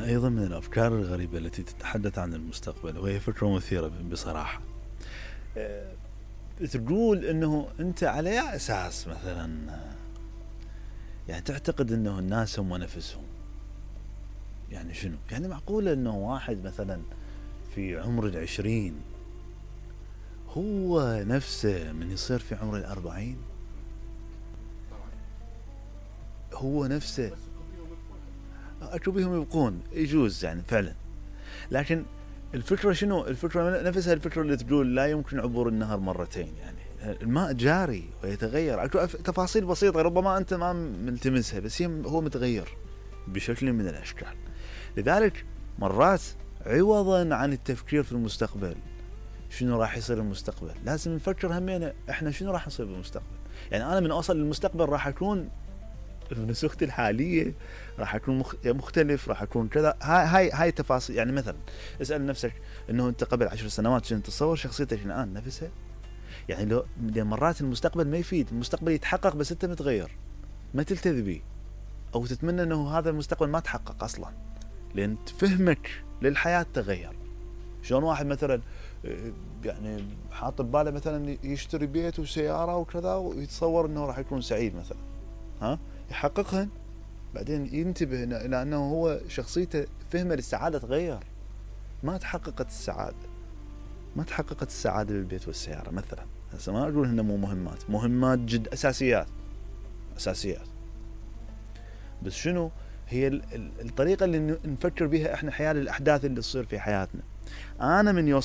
أيضا من الأفكار الغريبة التي تتحدث عن المستقبل، وهي فكرة مثيرة بصراحة. تقول أنه أنت على أي أساس مثلا يعني تعتقد أنه الناس هم نفسهم؟ يعني شنو؟ يعني معقولة أنه واحد مثلا في عمر 20 هو نفسه من يصير في عمر 40؟ هو نفسه أكو بيهم يبقون يجوز يعني فعلا، لكن الفكرة شنو؟ الفكرة نفسها الفكرة اللي تقول لا يمكن عبور النهر مرتين. يعني الماء جاري ويتغير، أكو تفاصيل بسيطة ربما أنت ما ملتمسها، بس هو متغير بشكل من الأشكال. لذلك مرات عوضا عن التفكير في المستقبل شنو راح يصير المستقبل، لازم نفكر همينا احنا شنو راح نصير بالمستقبل. يعني انا من اوصل للمستقبل راح اكون بنسختي الحاليه، راح اكون مختلف، راح اكون كذا. هاي تفاصيل. يعني مثلا اسال نفسك انه انت قبل 10 سنوات شنو تتصور شخصيتك الان نفسها؟ يعني لو مرات المستقبل ما يفيد، المستقبل يتحقق بس انت متغير، ما تلتذي به او تتمنى انه هذا المستقبل ما تحقق اصلا، لان فهمك للحياه تغير. شلون واحد مثلا يعني حاط بباله مثلا يشتري بيت وسياره وكذا ويتصور انه راح يكون سعيد مثلا، يحققهن، بعدين ينتبه الى انه هو شخصيته فهمه للسعاده تغير، ما تحققت السعاده بالبيت والسياره مثلا. هسه ما اقول انه مو مهمات جد اساسيات، بس شنو هي الطريقه اللي نفكر بها احنا حيال الاحداث اللي تصير في حياتنا. انا من